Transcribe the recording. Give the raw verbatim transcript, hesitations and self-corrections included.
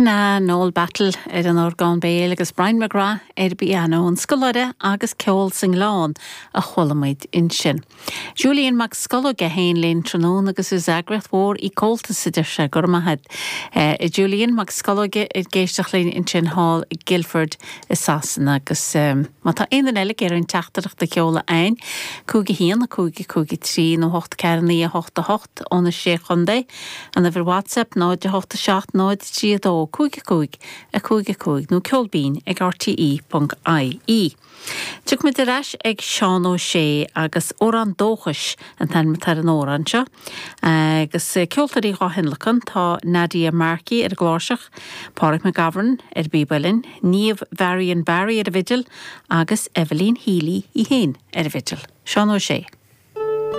Sin é Noel Battle ar an orgán béil agus Brian McGrath ar pianó an scoláire agus ceol sa nGleann a chuala muid ansin. Julian Mac Scolóige féin linn tráthnóna agus is eagraíocht mhór í Comhaltas a deir sé gur maith uh, Julian Mac Scolóige ag éisteacht linn ansin thall i Guildford i Sasana agus um, má tá aon eile ar an teachtaireacht a sheoladh chugainn, cúig a haon a cúig cúig trí nó hocht ceathair naoi a hocht a hocht ó na sé chontae an uimhir WhatsApp náid a hocht a seacht náid trí a dó cúig cúig a cúig cúig nó ceol binn ag RTE.ie. Tiocfaimid ar ais ag Seán Ó Sé agus Amhrán Dóchais an t-ainm atá ar an amhrán seo. Agus ceoltóirí á thionlacan tá Nadia Markey ar an gcláirseach, Pádraig McGovern ar bpíb uilleann, Niamh Varian Barry ar an bhfidil agus Evelyn Healy í féin ar an bhfidil. Seán Ó Sé.